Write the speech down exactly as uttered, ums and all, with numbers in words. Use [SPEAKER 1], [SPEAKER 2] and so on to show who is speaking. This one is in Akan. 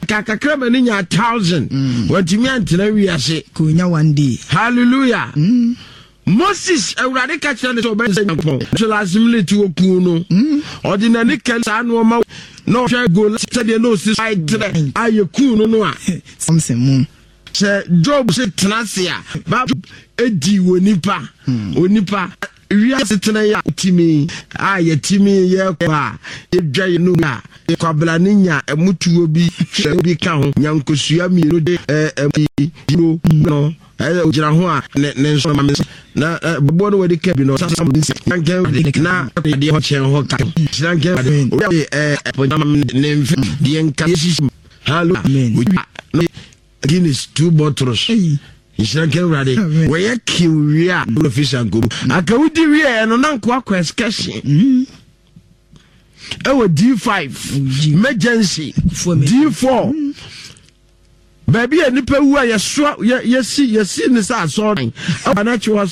[SPEAKER 1] Kakakra ma ne nya thousand, mm. Wantumi antena wiase.
[SPEAKER 2] Konya one day.
[SPEAKER 1] Hallelujah mm. Moses, Awurade ka kyerɛ ne sɛ ɔbɛyɛ sɛ Nyankopɔn, so last minute wɔkuu no mm. Ɔde n'ani ka saa nnoɔma na ɔhwɛ goal sɛdeɛ na ɔsi so ayɛ a yɛkuu no no a.
[SPEAKER 2] Samson mu.
[SPEAKER 1] Sɛ Job se tena ase a, Bible edi wɔ nipa onipa wiase tena yɛ a timi a yɛtimi yɛ kɔ a yɛdwa yɛ no a kwabla ne nya ɛmutuo bi hwɛ bi ka ho nya nkosua mmienu de ɛɛ ɛmu no ɛyɛ ogyina ho a ne ne nso ma me na bɔbɔ no wɔde ka bi no ɔsasa mu nsi nankɛn na adeɛ hɔ kyɛn hɔ ka nankɛn obi ɛɛ ɛpɔnyama ne mfe deɛ nka yɛsisi hallelujah. Guinness two bottles, nhyira nka Awurade. Wɔyɛ kiw wie a wura fi sankobu aka wodi wieɛ no na nkoa kɔ excursion mm. Ɛwɔ D five emergency, D four mm. Baabi a nipa wu a yɛsoa yɛsi yɛsi ne sɛ asɔɔdan ɛwɔ n'akyi hɔ.